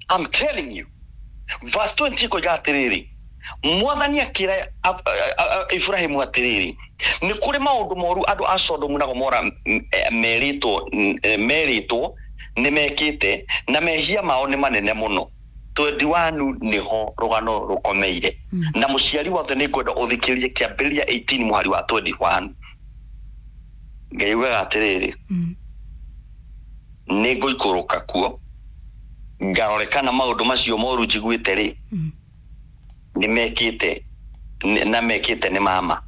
I'm telling you, verse 20 ĩkoiga atĩrĩrĩ, Mwathani akĩra Ibrahimu atĩrĩrĩ, nĩ kũrĩ maũndũ moru andũ a Sodomu na Gomora merĩtwo nĩ mekĩte, na mehia mao nĩ manene mũno. 21 nĩho rũgano rũkomeire. Na mũciari wothe nĩ ngwenda ũthikĩrĩrie Kĩambĩrĩria 18 mũhari wa 21. Ngai augaga atĩrĩrĩ, nĩ ngũikũrũka kuo ngarore kana maũndũ macio moru njiguĩte rĩ, nĩ mekĩte na mekĩte nĩ mama.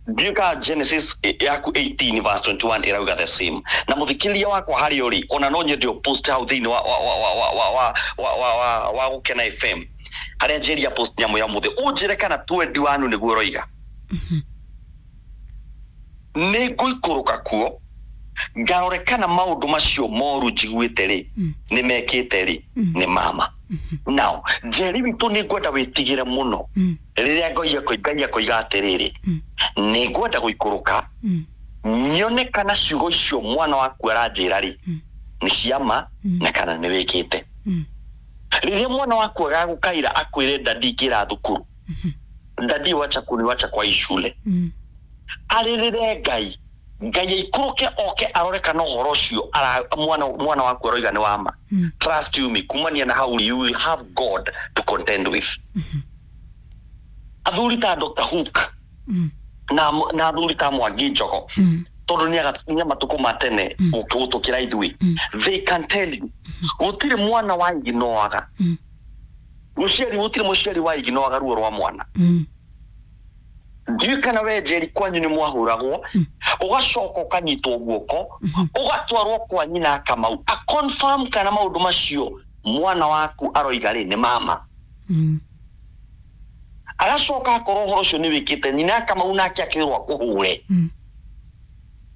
Ndiũĩ kana Genesis yaku 18 verse 21 ĩrauga the same. Na mũthikĩrĩria wakwa harĩa ũrĩ, ona no nyende ũpost hau thĩinĩ wa wa wa wa wa wa wa wa wa wa Gũkena FM harĩa njĩria post nyamũ ya mũthĩ, ũnjĩre kana 21 nĩguo ũroiga. Nĩ ngũikũrũka kuo ngarore kana maũndũ macio moru njiguĩte rĩ, nĩ mekĩte rĩ, nĩ mama. Now Njeri witũ, nĩ ngwenda wĩtigĩre mũno rĩrĩa Ngai akoiga atĩrĩrĩ, nĩ ngwenda gũikũrũka nyone kana ciugo icio mwana waku aranjĩra rĩ, nĩ ciama na kana nĩ wĩkĩte. Rĩrĩa mwana waku agagũkaira akwĩre, "Daddy, ingĩra thukuru, daddy, wacha kuniwacha kwa hii shule," arĩrĩre Ngai, Ngai aikũrũke oke arore kana ũhoro ũcio mwana waku aroiga nĩ wama. Trust you me, kumania na hau you will have God to contend with. Athuri ta Dr. Hook na athuri ta Mwangi Njogo, tondũ nĩ a matukũ ma tene gũtũkĩra ithuĩ, they can tell you gũtirĩ mwana wa iginoaga mũciari, gũtirĩ mũciari wa iginoaga ruo rwa mwana. Ndiũĩ kana we Njeri kwanyu nĩ mwahũragwo, ũgacoka ũkanyitwo guoko ũgatwarwo kwa nyina Kamau a confirm kana maũndũ macio mwana waku aroiga rĩ, nĩ mama. Agacoka akorwo ũhoro ũcio nĩ wĩkĩte, nyina Kamau nake akĩrwo akũhũre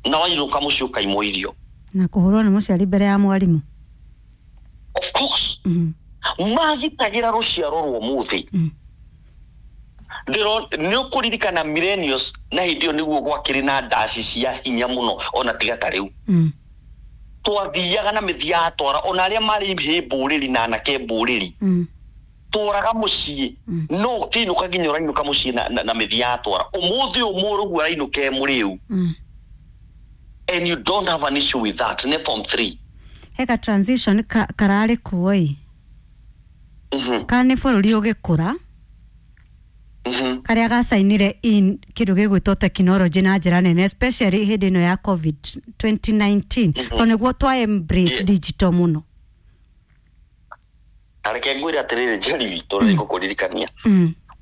na wainũka mũciĩ ũkaimwo irio. Na kũhũrwo nĩ mũciari mbere ya mwarimũ. Of course. Magitagĩra rũciaro rwa ũmũthĩ. Nĩ ũkũririkana millennials, na hĩndĩ ĩyo nĩguo gwakĩrĩ na ndaci cia hinya mũno, ona tiga ta rĩu. Twathiaga na mĩthia twara ona arĩa marĩ hĩ mbũrĩri na anake mbũrĩri, tworaga mũciĩ. No ũkĩinũka nginya ũrainũka mũciĩ na mĩthia twara. Ũmũthĩ ũyũ mũrũguo arainũka e mũrĩu and you don't have an issue with that. Nĩ form 3. Heka transition kararĩ kuo ĩ, kana nĩ bũrũri ũgĩkũra, karĩa gacainire in kĩndũ gĩgwĩtwo technology na njĩra nene, especially hĩndĩ ĩno ya COVID 2019, tondũ nĩguo twa embrace digital mũno. Na reke ngwĩre atĩrĩrĩ, Njeri witũ, nĩ ngũkũririkania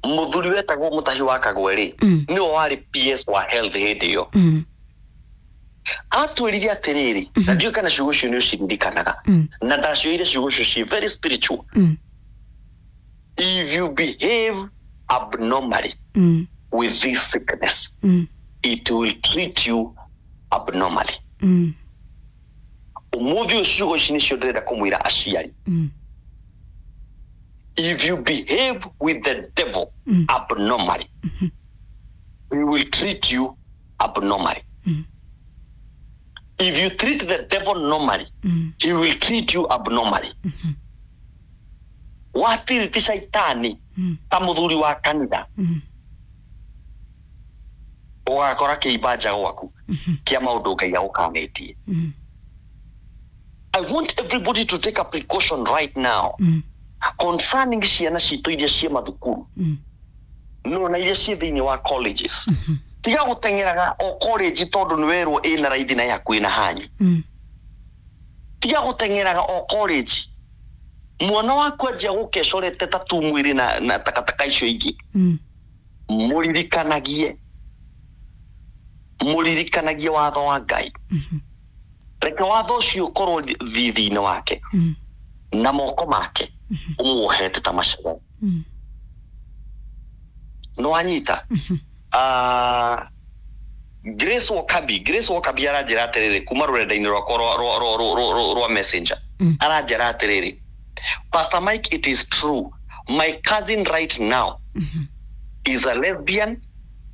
mũthuri wetagwo Mũtahi wa Kagwe rĩ, nĩwe warĩ PS wa health hĩndĩ ĩyo. Atwĩrire atĩrĩrĩ, na ndiũĩ kana ciugo icio nĩ ũciririkanaga, na ndacioire ciugo icio ci very spiritual: "If you behave abnormally with this sickness, it will treat you abnormally." Ũmũthĩ ũyũ ciugo ici nĩcio ndĩrenda kũmwĩra aciari: if you behave with the devil abnormally, he will treat you abnormally. If you treat the devil normally, he will treat you abnormally. Watiriti caitani ta mũthuri wa kanitha, ũgakora kĩimba nja gwaku kĩa maũndũ Ngai agũkanĩtie. I want everybody to take a precaution right now concerning ciana citũ iria ciĩ mathukuru, no na iria ciĩ thĩinĩ wa colleges. Tiga gũteng'eraga o college tondũ nĩ werwo ĩna raithi na ĩ hakuhĩ na hanyu. Tiga gũteng'eraga o college. Mwana waku anjia gũka ecorete tatu mwĩrĩ na takataka icio ingĩ, mũririkanagie, mũririkanagie watho wa Ngai. Reke watho ũcio ũkorwo thithi-inĩ wake na moko make ũmuohete ta macaga. Nĩ wanyita? Grace Wakabi, Grace Wakabi aranjĩra atĩrĩrĩ kuma rũrenda-inĩ rwakwa rwa Messenger. Aranjĩra atĩrĩrĩ, "Pastor Mike, it is true, my cousin right now is a lesbian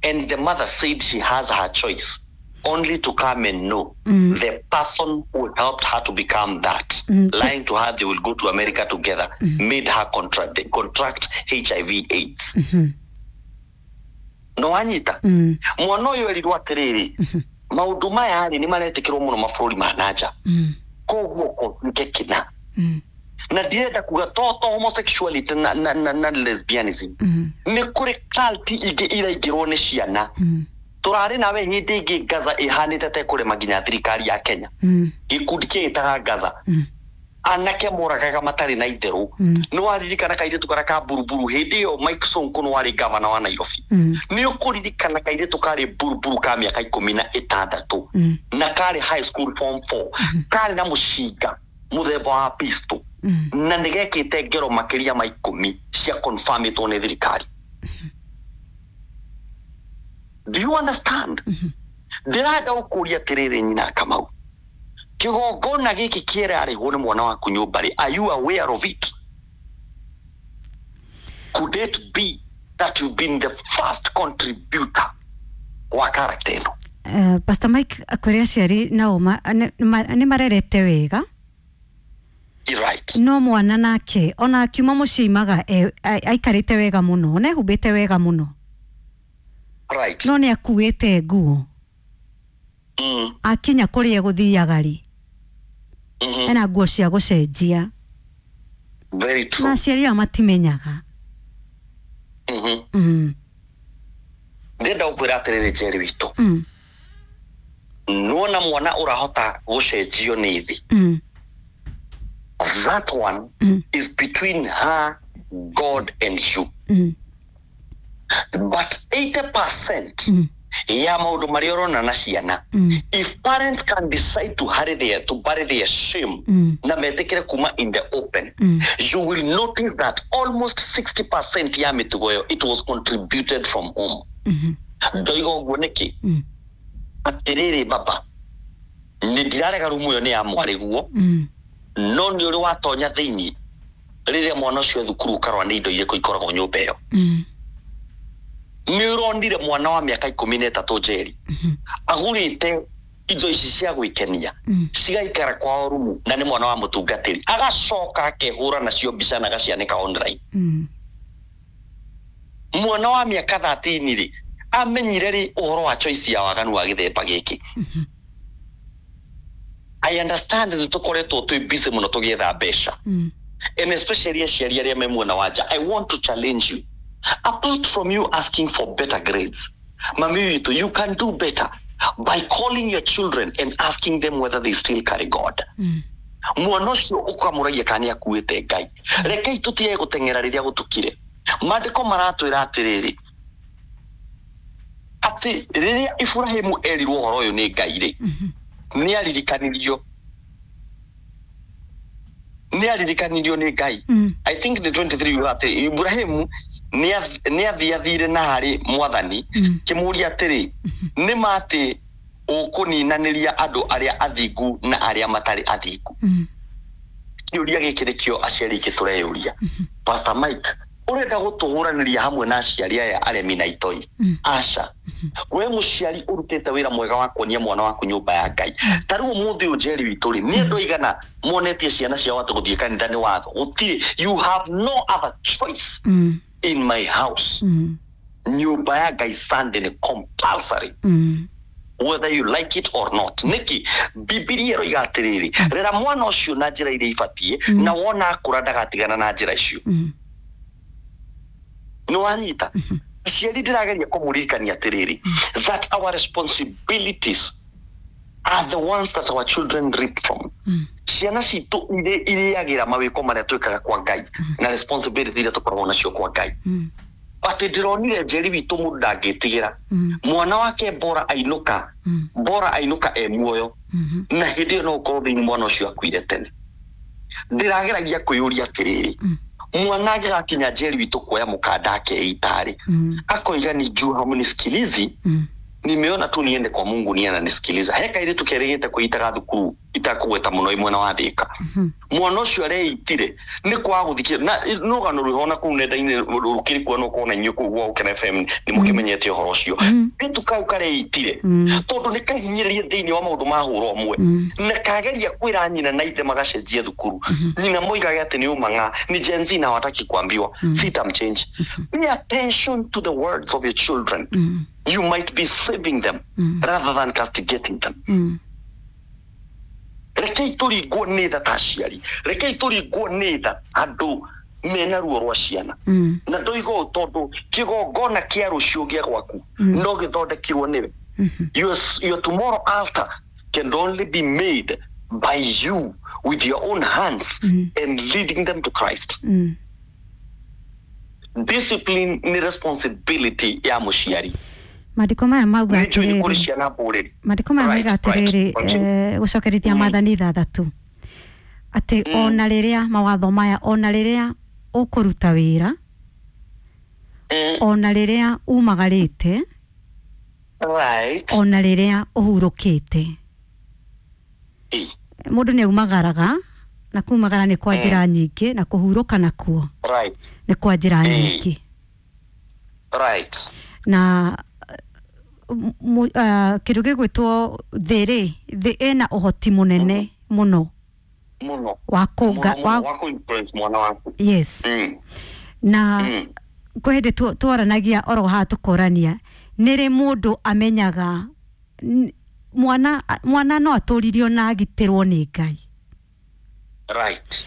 and the mother said she has her choice." Only to come and know the person who helped her to become that, lying to her they will go to America together, made her contract HIV AIDS. No wanyita? Mwana ũyũ erirwo atĩrĩrĩ, maũndũ maya rĩ nĩ maretĩkĩrwo mũno mabũrũri ma nanja, koguo kotuĩke kĩna. Na ndirenda kuga to homosexuality na lesbianism, nĩ kũrĩ cult ingĩ iraingĩrwo nĩ ciana. Tũrarĩ nawe hĩndĩ ĩngĩ Gaza ĩhanĩte ta ĩkũrema nginya thirikari ya Kenya. Gĩkundi kĩĩtaga Gaza, anake moragaga matarĩ na itherũ. Nĩ waririkana kairĩtu karĩa ka buruburu hĩndĩ ĩyo Mike Sonko nĩ warĩ gavana wa Nairobi? Nĩ ũkũririkana kairĩtu karĩ buruburu ka mĩaka 16 na karĩ high school form 4, karĩ na mũcinga mũthemba wa pistol, na nĩ gekĩte ngero makĩria ma 10 cia confirmĩtwo nĩ thirikari? Do you understand? Ndĩrenda gũkũria atĩrĩrĩ, nyina Kamau, kĩgongona gĩkĩ kĩrarĩhwo nĩ mwana waku nyũmba rĩ, are you aware of it? Could it be that you've been the first contributor wa character ĩno? Pastor Mike, kũrĩ aciari nao nĩ marerete wega. Right. No mwana nake ona akiuma mũciĩ imaga aikarĩte wega mũno, ona ehumbĩte wega mũno. Right. No nĩ akuĩte nguo. Akinya kũrĩa egũthiaga rĩ, ena nguo cia gũcenjia. Very true. Na aciari ao matimenyaga. Ndĩrenda gũkwĩra atĩrĩrĩ, Njeri witũ, nĩwona mwana ũrahota gũcenjio nĩ thĩ, that one is between her, God and you. But 80% ya maũndũ marĩa ũrona na ciana, if parents can decide to hurry their, to bury their shame na metĩkĩre kuma in the open, you will notice that almost 60% ya mĩtugo ĩyo, it was contributed from home. Ndoiga ũguo nĩkĩ? Atĩrĩrĩ baba, nĩ ndirarega rumu ĩyo nĩ ya mwarĩguo, no nĩ ũrĩ watonya thĩinĩ rĩrĩa mwana ũcio thukuru ũkarora nĩ indo irĩkũ ikoragwo nyũmba ĩyo? Nĩ ũronire mwana wa mĩaka 13, Njeri, agũrĩte indo ici cia gwĩkenia cigaikara kwao rumu, na nĩ mwana wa mũtungatĩri, agacoka akehũra nacio mbica na agacianĩka online? Mwana wa mĩaka 13 rĩ, amenyire rĩ ũhoro wa choice ya waganu wa gĩthemba gĩkĩ? I understand nĩ tũkoretwo twĩ busy mũno tũgĩetha mbeca, and especially aciari arĩa me mwena wa nja. I want to challenge you: apart from you asking for better grades, mami witũ, you can do better by calling your children and asking them whether they still carry God. Mwana ũcio ũkamũragia kana nĩ akuĩte Ngai. Rekei tũtige gũteng'era rĩrĩa gũtukire. Maandĩko maratwĩra atĩrĩrĩ, atĩ rĩrĩa Iburahĩmu erirwo ũhoro ũyũ nĩ Ngai rĩ, nĩ aririkanirio nĩ Ngai. I think the 23 yuga atĩ Ibrahimu nĩ athiathire na harĩ mwathani, kĩmũria atĩrĩ, nĩ ma atĩ ũkũninanĩria andũ arĩa athingu na arĩa matarĩ athingu? Kĩũria gĩkĩ nĩkĩo aciari aingĩ tũreyũria. Pastor Mike, ũrenda gũtũhũranĩria hamwe na aciari aya aremi na itoi? Aca, we mũciari ũrutĩte wĩra mwega wa kuonia mwana waku nyũmba ya Ngai. Ta rĩu ũmũthĩ ũyũ, Njeri witũ rĩ, nĩ andũ aigana monetie ciana ciao atĩ gũthiĩ kanitha nĩ watho? Gũtirĩ. You have no other choice. In my house, nyũmba ya Ngai Sunday nĩ compulsory, whether you like it or not. Nĩkĩ? Bibilia ĩroiga atĩrĩrĩ, rera mwana ũcio na njĩra iria ibatiĩ, na wona akũra ndagatigana na njĩra icio. Nĩ wanyita? Aciari, ndĩrageria kũmũririkania atĩrĩrĩ, that our responsibilities are the ones that our children reap from. Ciana citũ irĩagĩra mawĩko marĩa twĩkaga kwa Ngai na responsibility iria tũkoragwo nacio kwa Ngai. Atĩ ndĩronire, Njeri witũ, mũndũ ndangĩtigĩra mwana wake bora ainũka, bora ainũka e muoyo, na hĩndĩ ĩyo no ũkorwo thĩinĩ mwana ũcio akuire tene. Ndĩrageragia kwĩyũria atĩrĩrĩ, mwana angĩgakinya, Njeri witũ, kuoya mũkanda akeita-rĩ, akoiga ni juu hamunisikilizi, nimeona tu niende kwa Mungu ni ananisikiliza. He kairĩtu kerĩgĩte kwĩitaga thukuru. itakũgweta mũno ĩ mwena wa Thĩka. Mwana ũcio areitire nĩ kwaga gũthikĩrĩria na rũgano rwĩho na kũu nenda-inĩ rũkĩrĩ kuo no kona inyuĩ kũu gwa Gũkena FM nĩ mũkĩmenyete ũhoro ũcio. Kairĩtu kau kareitire tondũ nĩ kahinyĩrĩrie thĩinĩ wa maũndũ ma hũra ũmwe na kageria kwĩra nyina na ithe magacenjie thukuru. Nyina moigage atĩ nĩ ũmang'a ni Gen Z na hawataki kuambiwa sitamchange. Pay attention to the words of your children. You might be saving them rather than castigating them. Rekei tũringwo nĩ tha ta aciari, rekei tũringwo nĩ tha andũ mena ruo rwa ciana. Na ndoiga ũũ tondũ kĩgongona kĩa rũciũ gĩa gwaku no gĩthondekirwo nĩwe. Your tomorrow altar can only be made by you with your own hands and leading them to Christ. Discipline ni responsibility ya mũciari. Mandĩko maya mauga Nĩ njũĩ nĩ kũrĩ atĩrĩrĩ, ciana mbũrĩri. mandĩko maya mauga Right, right. atĩrĩrĩ, Continue. gũcokerithia maathani ithathatũ atĩ ona rĩrĩa mawatho maya, ona rĩrĩa ũkũruta wĩra, ona rĩrĩa umagarĩte, Right. ona rĩrĩa ũhurũkĩte. Mũndũ nĩ aumagaraga, na kumagara nĩ kwa njĩra nyingĩ, na kũhurũka nakuo Right. nĩ kwa njĩra nyingĩ. Right. Na kĩndũ gĩgwĩtwo thĩ rĩ, thĩ ĩna ũhoti mũnene mũno Mũno. wa kũnga Mũno, wa mũno, wa kũ-influence mwana waku. Yes. Na kwĩ hĩndĩ twaranagia oro haha tũkorania nĩ rĩ mũndũ amenyaga mwana no atũririo na agitĩrwo nĩ Ngai. Right.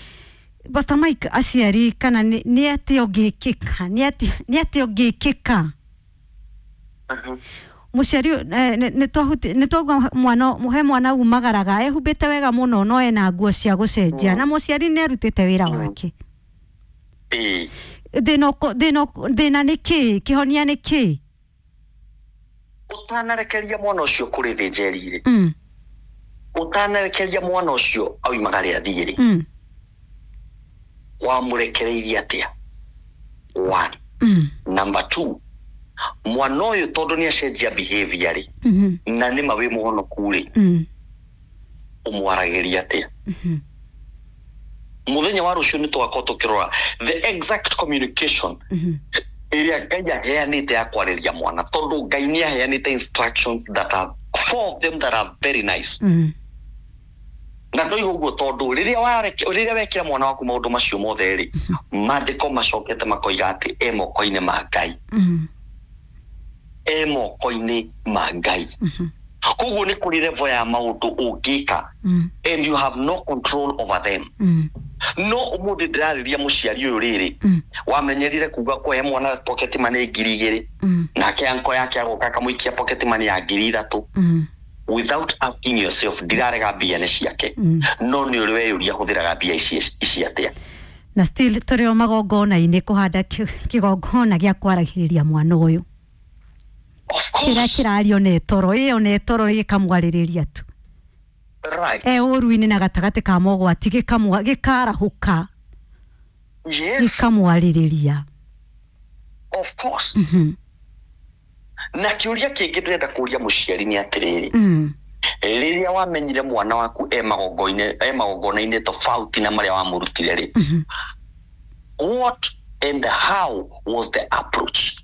Pastor Mike, aciari kana nĩ atĩa ũngĩkĩka, nĩ atĩa ũngĩkĩka mũciari nĩ twauga mwana he mwana umagaraga ehumbĩte wega mũno no ena nguo cia gũcenjia na mũciari nĩ arutĩte wĩra wake. Thĩna nĩ kĩĩ, kĩhonia nĩ kĩĩ? Ũtanarekeria mwana ũcio kũrĩ thĩ njeri-rĩ, ũtanarekeria mwana ũcio oimagare athiĩ-rĩ, wamũrekereirie atĩa? One. Number two, mwana ũyũ tondũ nĩ acenjia behavior rĩ, na nĩ ma wĩ mũhonoku rĩ, ũmwaragĩria atĩa? Mũthenya wa rũciũ nĩ tũgakorwo tũkĩrora the exact communication ĩrĩa Ngai aheanĩte ya kwarĩria mwana, tondũ Ngai nĩ aheanĩte instructions that are four of them that are very nice. Na ndoiga ũguo tondũ rĩrĩa wekĩra mwana waku maũndũ macio mothe rĩ, maandĩko macokete makoiga atĩ e moko-inĩ ma Ngai. E moko-inĩ ma Ngai. Koguo nĩ kũrĩ level ya maũndũ ũngĩka and you have no control over them. No ũmũthĩ ndĩrarĩria mũciari ũyũ rĩrĩ, wamenyerire kuga kũhe mwana pocket money 2,000, nake anko yake agoka akamũikia pocket money ya 3,000 without asking yourself, ndirarega mbia nĩ ciake, no nĩ ũrĩ weyũria hũthĩraga mbia ici atĩa? Na still tũrĩ o magongona-inĩ kũhanda kĩgongona gĩa kwaragĩrĩria mwana ũyũ. Of course. Kĩrĩa kĩrario nĩ toro, ĩyo nĩ toro gĩkamwarĩrĩria tu. Right. E ũru-inĩ na gatagatĩ ka mogwati gĩkarahũka. Yes. Gĩkamwarĩrĩria. Of course. Na kĩũria kĩngĩ ndĩrenda kũria mũciari nĩ atĩrĩrĩ, rĩrĩa wamenyire mwana waku e magongona-inĩ tofauti na marĩa wamũrutire rĩ, what and how was the approach?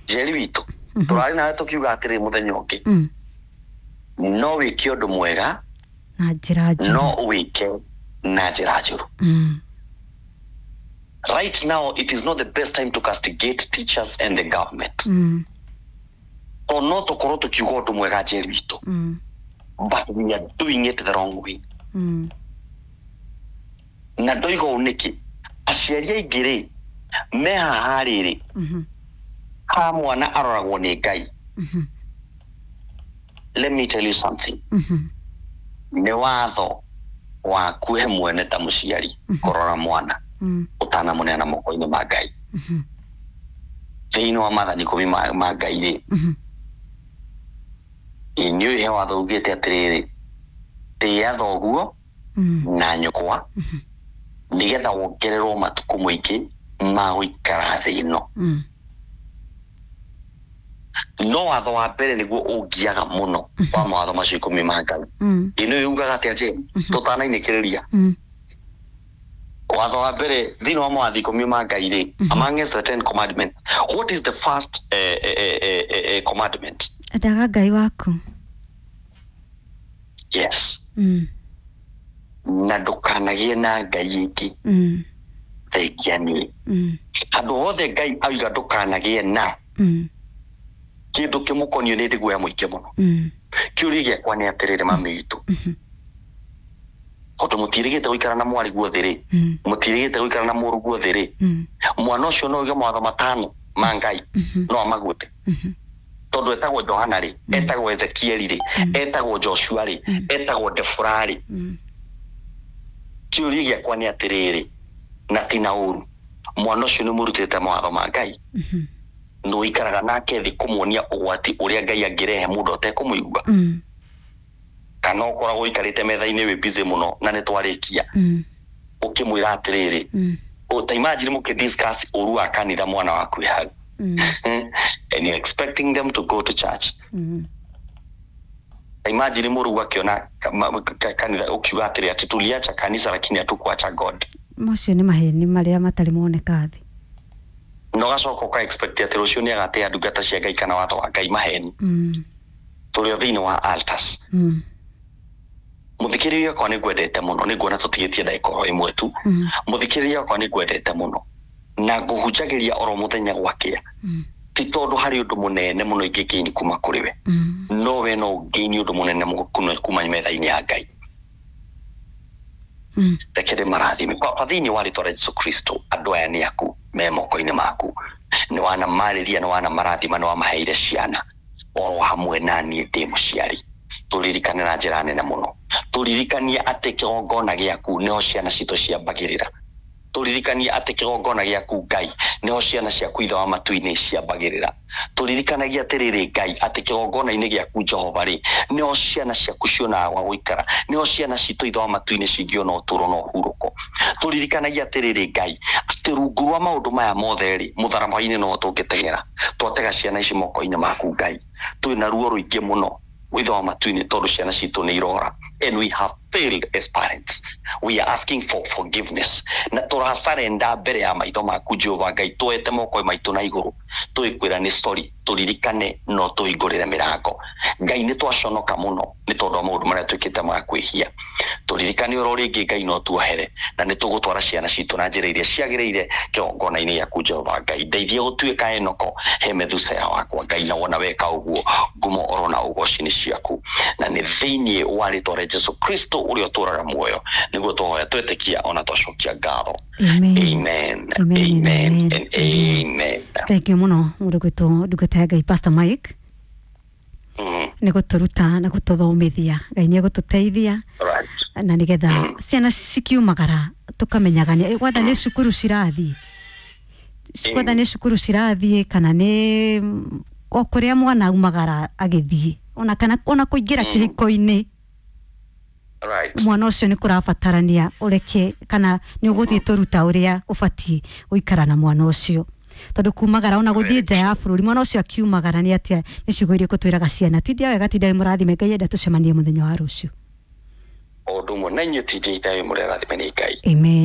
Njeri witũ, tũrarĩ nawe tũkiuga atĩrĩ mũthenya ũngĩ, no wĩke ũndũ mwega na njĩra njũru, no wĩke na njĩra njũru. Right now it is not the best time to castigate teachers and the government. To no tũkorwo tũkiuga ũndũ mwega Njeri witũ, but we are doing it the wrong way. Na ndoiga ũũ nĩkĩ, aciari aingĩ rĩ me haha rĩrĩ, ha mwana aroragwo nĩ Ngai. Let me tell you something. Nĩ watho waku we mwene ta mũciari kũrora mwana ũtanamũneana moko-inĩ ma Ngai. Thĩinĩ wa maathani 10 ma Ngai rĩ, inyuĩ he watho ugĩte atĩrĩrĩ, tĩĩa thoguo na nyũkwa nĩgetha wongererwo matukũ maingĩ ma gũikara thĩ ĩno. No watho wa mbere nĩguo ũngiaga mũno wa mawatho macio 10 ma Ngai. Ĩno yugaga atĩa Jane? Tũtanainĩkĩrĩria. Watho wa mbere thĩinĩ wa mawatho 10 ma Ngai rĩ, amongst the 10 commandments, what is the first commandment? Endaga Ngai waku. Yes. Na ndũkanagĩe na Ngai ĩngĩ thengia niĩ. Handũ hothe Ngai auga ndũkanagĩe na kĩndũ kĩmũkoniĩ nĩ ndĩ guoya mũingĩ mũno. Kĩũria gĩakwa nĩ atĩrĩrĩ mami witũ, tondũ mũtiĩrĩgĩte gũikara na mwarĩ guothe rĩ, mũtiĩrĩgĩte gũikara na mũrũ guothe rĩ, mwana ũcio no oige mawatho 5 ma Ngai no amagwete. Tondũ etagwo Johana rĩ, etagwo Ezekieli rĩ, etagwo Joshua rĩ, etagwo Debora rĩ. Kĩũria gĩakwa nĩ atĩrĩrĩ, na ti na ũru, mwana ũcio nĩ mũrutĩte mawatho ma Ngai? Nĩ ũikaraga nake thĩ kũmuonia ũgwati ũrĩa Ngai angĩrehe mũndũ atekũmũigua? Kana ũkoragwo ũikarĩte metha-inĩ wĩ busy mũno na nĩ twarĩkia, ũkĩmwĩra atĩrĩrĩ, ta imagine mũkĩ discuss ũru wa kanitha mwana waku wĩ hau, and you're expecting them to go to church. Ta imagine mũrũgu akĩona kanitha ũkiuga atĩrĩ atĩ tuliacha kanisa lakini hatukuacha God. Macio nĩ maheni marĩa matarĩ moneka thĩ. Na ũgacoka ũka expect atĩ rũciũ nĩ agatĩa ndungata cia Ngai kana watho wa Ngai maheni. Tũrĩ o thĩinĩ wa altars. Mũthikĩrĩria wakwa nĩ ngwendete mũno, nĩ nguona tũtigĩtie ndagĩka oro ĩmwe tu. Mũthikĩrĩria wakwa nĩ ngwendete mũno na ngũhunjagĩria oro mũthenya gwakĩa, ti tondũ harĩ ũndũ mũnene mũno ingĩgain kuma kũrĩ we, no we no ũgain ũndũ mũnene kuma metha-inĩ ya Ngai. Reke ndĩmarathime. Baba, thĩinĩ wa rĩtwa rĩa Jesu Kristo, andũ aya nĩ aku me moko-inĩ maku, nĩ wanamarĩria, nĩ wanamarathima, nĩ wamaheire ciana oro hamwe na niĩ ndĩ mũciari. Tũririkane na njĩra nene mũno, tũririkanie atĩ kĩgongona gĩaku nĩho ciana citũ ciambagĩrĩra. Tũririkanie atĩ kĩgongona gĩaku Ngai nĩho ciana ciaku Ithe wa matu-inĩ ciambagĩrĩra. Tũririkanagia atĩrĩrĩ Ngai atĩ kĩgongona-inĩ gĩaku Jehova rĩ, nĩho ciana ciaku cionaga gwa gũikara, nĩho ciana citũ Ithe wa matu-inĩ cingĩona ũtũũro na ũhurũko. Tũririkanagia atĩrĩrĩ Ngai atĩ rungu rwa maũndũ maya mothe rĩ, mũtharaba-inĩ noho tũngĩteng'era. Twatega ciana ici moko-inĩ maku Ngai, twĩna ruo rũingĩ mũno Ithe wa matu-inĩ tondũ ciana citũ nĩ irora, and we have failed as parents. We are asking for forgiveness na tũrasarenda mbere ya maitho maku Jehova Ngai, tuoete moko maitũ na igũrũ tũgĩkwĩra nĩ sorry, tũririkane no tũhingũrĩre mĩrango. Ngai nĩ twaconoka mũno nĩ tondũ wa maũndũ marĩa twĩkĩte ma kwĩhia. Tũririkane oro rĩngĩ Ngai no tuohere, na nĩ tũgũtwara ciana citũ na njĩra iria ciagĩrĩire kĩgongona-inĩ gĩaku Jehova Ngai. Ndeithia gũtuĩka Enoko he Methusela wakwa Ngai, na wona weka ũguo ngumo oro na ũgoci nĩ ciaku, na nĩ thĩinĩ wa rĩtwa rĩa Jesu Kristo ũrĩa ũtũũraga muoyo nĩguo tũhoya twetĩkia ona twacokia ngatho. Amen. Amen. Amen. Amen and amen. Thank you mũno mũndũ gwĩtwo ndungata ya Ngai Pastor Mike nĩ gũtũruta na gũtũthomithia. Ngai nĩ egũtũteithia na nĩgetha ciana cikiumagara tũkamenyaga nĩ gwatha nĩ cukuru cirathiĩ, gwatha nĩ cukuru cirathiĩ kana nĩ o kũrĩa mwana aumagara agĩthiĩ, ona kana ona kũingĩra kĩhiko-inĩ, mwana ũcio nĩ kũrabatarania ũreke kana nĩ ũgũthiĩ tũruta ũrĩa ũbatiĩ gũikara na mwana ũcio, tondũ kumagara ona gũthiĩ nja ya bũrũri mwana ũcio akiumagara nĩ atĩa, nĩ ciugo irĩkũ twĩraga ciana? Tindia wega, tindia wĩ mũrathime. Ngai enda tũcemanie mũthenya wa rũciũ. O ũndũ ũmwe na inyuĩ tindiai thayũ, mũrĩ arathime nĩ Ngai. Amen.